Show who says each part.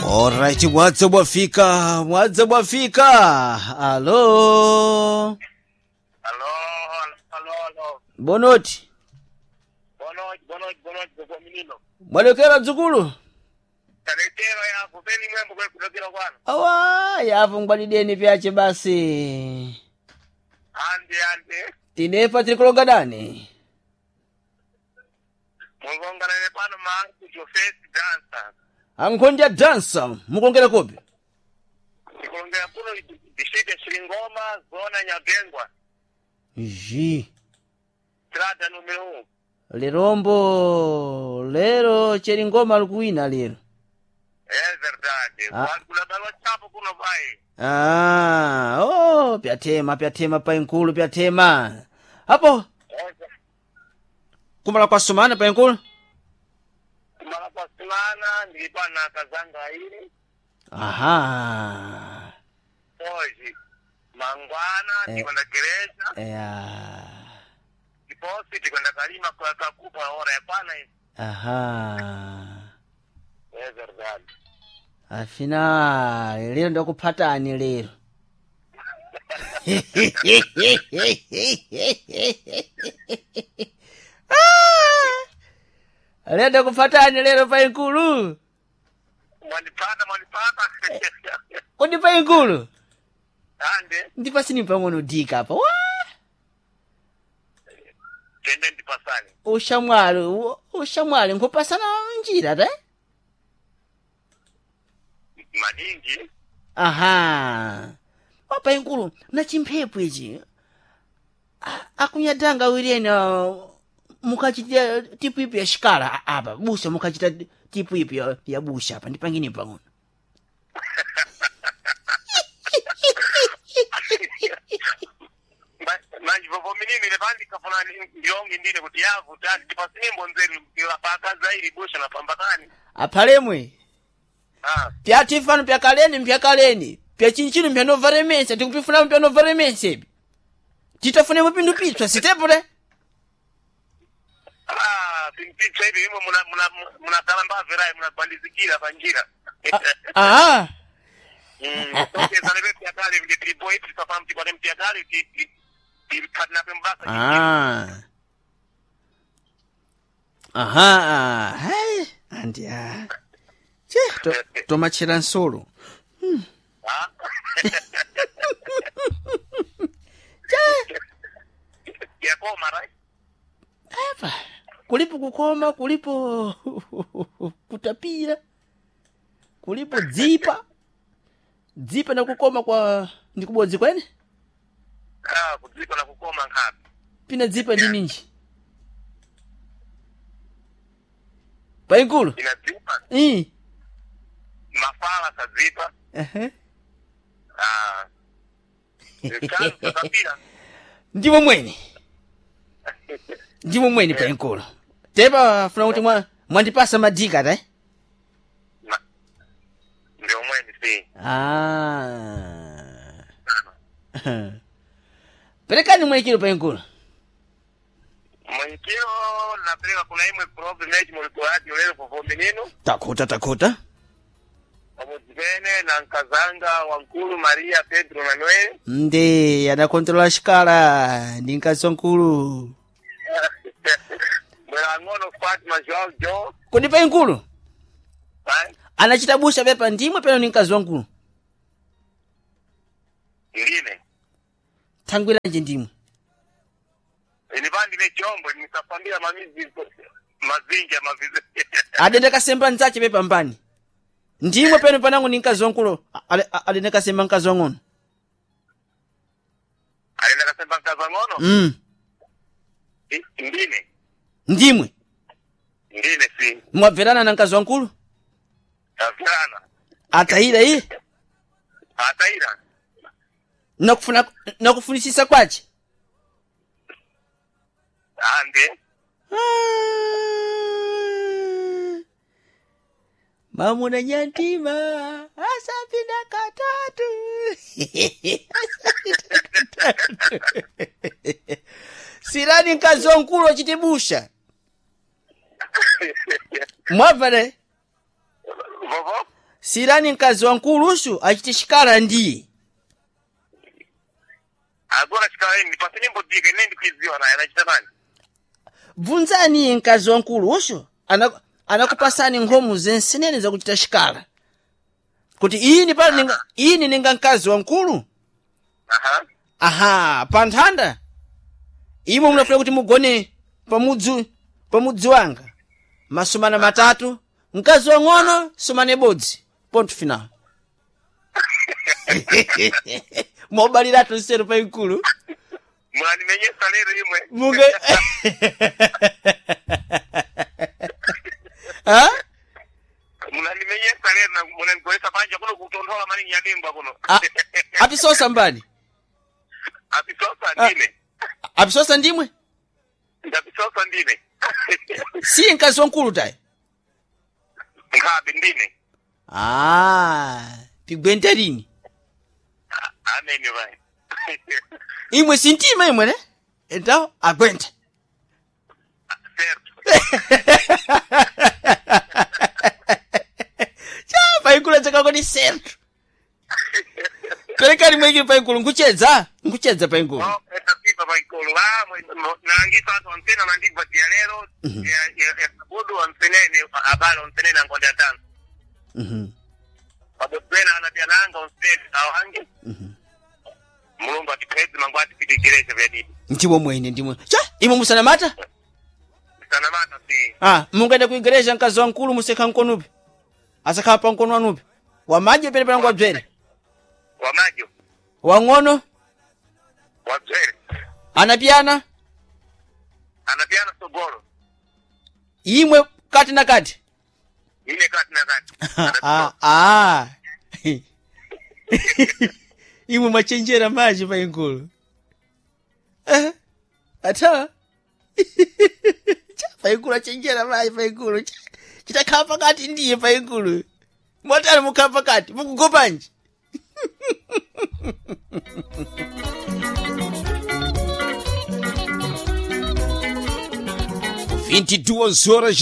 Speaker 1: Alright, mwadze mwafika, mwadze mwafika. Alo.
Speaker 2: Alo, alo, alo.
Speaker 1: Bonoti.
Speaker 2: Bonoji, bonoji, bonoji kwa minino.
Speaker 1: Mwalekera mdzukulu.
Speaker 2: Taletero ya kupeni mwembo kwa kudokera kwano.
Speaker 1: Awa, yapo ngwadideni pyache basi.
Speaker 2: Ande, ande.
Speaker 1: Tinepa tiri kulonga dani.
Speaker 2: Mulongana ne pano manku Jofesi dancer.
Speaker 1: Ankhondya dansa, mukongera kopi.
Speaker 2: Ndikulongera kuno distrikti ya Chilingoma, zona Nyabengwa.
Speaker 1: Ji.
Speaker 2: Strada numero 1.
Speaker 1: Lerombo, lero Cheringoma likuwina lero.
Speaker 2: É verdade.
Speaker 1: Ah.
Speaker 2: Kula balwa chapo kuno vai.
Speaker 1: Ah, oh, pyatema pyatema painkulu pyatema. Apo kumala kwasumana painkulu.
Speaker 2: Kumala kwa simana ndilipa na kazanga ili.
Speaker 1: Aha.
Speaker 2: Hoje mangwana
Speaker 1: Eh.
Speaker 2: ndikwenda gereja
Speaker 1: Ya.
Speaker 2: ndiposi tikwenda kalima kwa kakupa ora yapana hivi.
Speaker 1: Aha.
Speaker 2: É verdade.
Speaker 1: Afina lero ndakuphatani lero. Ah! Lero ndakuphatani lero painkulu.
Speaker 2: Mwandipata mwandipata.
Speaker 1: Kodi painkulu.
Speaker 2: Ande
Speaker 1: Ndipasini pang'ono dika apa. Wa!
Speaker 2: tende ndipasane.
Speaker 1: Ushamwali, ushamwali nkupasana njira ta?
Speaker 2: Maningi
Speaker 1: Aha. Wapainkulu na chimphepo ichi. Akunyadanga awiri mukachita tipu ipi ya shikala apa busha mukachita tipu ipi ya busha apa ndipangini pang'ono.
Speaker 2: Manje vovo minini ile pandi kafuna ndionge ndine kuti yavu tani tipasimbo nzeru paka zairi busha na pambatani.
Speaker 1: Aphalemwe
Speaker 2: Ah,
Speaker 1: pyatifano pyakaleni mpyakaleni pyachinchino mpyanovaremesa tikupifunamo pyanovaremesa ipi titafunemo pindu pitswa sitepo te
Speaker 2: ah, pimpitsa hivi imwe muna muna muna talamba verai muna bandizikira panjira.
Speaker 1: Aha.
Speaker 2: Mm, tokeza lebe pyakale vile tilipo hivi tukafahamu tipate mpyakale ti ti ti mbasa.
Speaker 1: Ah. Aha. Hai. Andi ah. Che, to, tomachera nsolo.
Speaker 2: Ah.
Speaker 1: Che,
Speaker 2: Yakoma right?
Speaker 1: apa. Kulipo kukoma, kulipo kutapira. Kulipo dzipa. Dzipa na kukoma kwa ndikubodzi kwene?
Speaker 2: Ah, kudziko na kukoma nkhapi.
Speaker 1: Pina dzipa ndi ninji. Painkulu.
Speaker 2: Inadzipa
Speaker 1: Ii.
Speaker 2: mafala sadzipa.
Speaker 1: Ehe.
Speaker 2: Ah. Zikhazi zakapira.
Speaker 1: Ndimo mwene. Ndimo mwene painkulu. Tepa funa kuti mwandipasa madika ta?
Speaker 2: Ndio mwene si.
Speaker 1: Ah. Perekani mwekiro painkulu.
Speaker 2: Mwenyekiro napeleka kuna imwe problem yechi mulikuwati ulelo vovo minino.
Speaker 1: Takuta takuta.
Speaker 2: Pamodzipene na nkazanga wankulu Maria Pedro Manuel.
Speaker 1: Ndi adakontrola xikala ndi mkazi wankulu.
Speaker 2: Mwera ang'ono Fatima Joao Jo.
Speaker 1: Kodi painkulu
Speaker 2: Vai.
Speaker 1: anachita busha pepa ndimwe peno ndi mkazi wankulu.
Speaker 2: Ndine.
Speaker 1: Thangwiranje ndimwe.
Speaker 2: Ini pandi ne chombo nisafambira mamizi mazingi ya mavizi.
Speaker 1: Adende kasemba nzache pepa mbani. Ndimwe peno panangu ndi mkazi wankulu adende kasemba mkazi wang'ono.
Speaker 2: Alenda kasemba mkazi wang'ono?
Speaker 1: Mm.
Speaker 2: Ndine.
Speaker 1: Ndimwe.
Speaker 2: Ndine si.
Speaker 1: Mwabverana na mkazi wankulu?
Speaker 2: Tafirana.
Speaker 1: Atayira iye.
Speaker 2: Ataira.
Speaker 1: Nakufuna nakufunisisa kwache.
Speaker 2: Ande.
Speaker 1: Ah. Mamuna nyantima asapinda katatu. Asapinda katatu. Sirani mkazi wankulu achitibusha. Mwabvere
Speaker 2: Vovo?
Speaker 1: Sirani mkazi wankulusu achite xikala ndiye.
Speaker 2: Agora xikala ine ndipase nimbodika ine ndikuiziwa naye anachita nani.
Speaker 1: Bvunzani iye mkazi wankulusu anakupasani nkhomu zensenene zakuchita xikala. Kuti ini pano ninga ini ninga mkazi wankulu.
Speaker 2: Aha.
Speaker 1: Aha, pa nthanda. Imwe munafuna kuti mugone pamudzi wanga. Masumana matatu, mkazi wang'ono sumane bodzi. Ponto final. Mobaliratu nseru pa ikulu.
Speaker 2: Mwanimenyesa lero imwe.
Speaker 1: Munge Ha?
Speaker 2: Munanimenyesa lero na munanigolesa panja kuno kutonthola maningi yadengwa kuno.
Speaker 1: Apisosa mbani?
Speaker 2: Apisosa
Speaker 1: Ah.
Speaker 2: ndine.
Speaker 1: Apisosa ndimwe?
Speaker 2: Ndapisosa ndine.
Speaker 1: Si mkazi wankulu tayi.
Speaker 2: Nkhabe ndine.
Speaker 1: Ah, pigwente lini?
Speaker 2: Amene vai.
Speaker 1: Imwe sintima imwe ne? Então, aguenta.
Speaker 2: Certo.
Speaker 1: Cha, paikulu chakakoni certo. Perekani mwekiri paikulu nkuchedza, nkuchedza paikulu.
Speaker 2: Oh, etapipa paikulu. Ah, nalangisa anthu amsena mandigwa dia lero ya sabudu amsenene abale amsenene angonde atano. Pabodwena anapyananga omsene awange. Mulungu atiphedze mangu atipitikireche vyadidi.
Speaker 1: Ndimwe mwene ndimwe. Cha, imwe musanamata?
Speaker 2: Sanamata si.
Speaker 1: Ah, mungaenda ku igreja mkazi wankulu musekha mkonupi. Asakhala pa mkono wanupi. Wamaji pene panangu wabzere.
Speaker 2: Wamajo.
Speaker 1: Wang'ono,
Speaker 2: Wabzere.
Speaker 1: anapiyana,
Speaker 2: Anapyana sogolo.
Speaker 1: imwe kati na kati.
Speaker 2: Ine kati na kati.
Speaker 1: Ah, ah. Imwe mwachenjera maji paikulu. Eh, ata. Cha paikulu achenjera maji paikulu. Chitakhala pakati ndiye paikulu. Mwatali mukhala pakati, mukugopanji.
Speaker 3: 22 horas.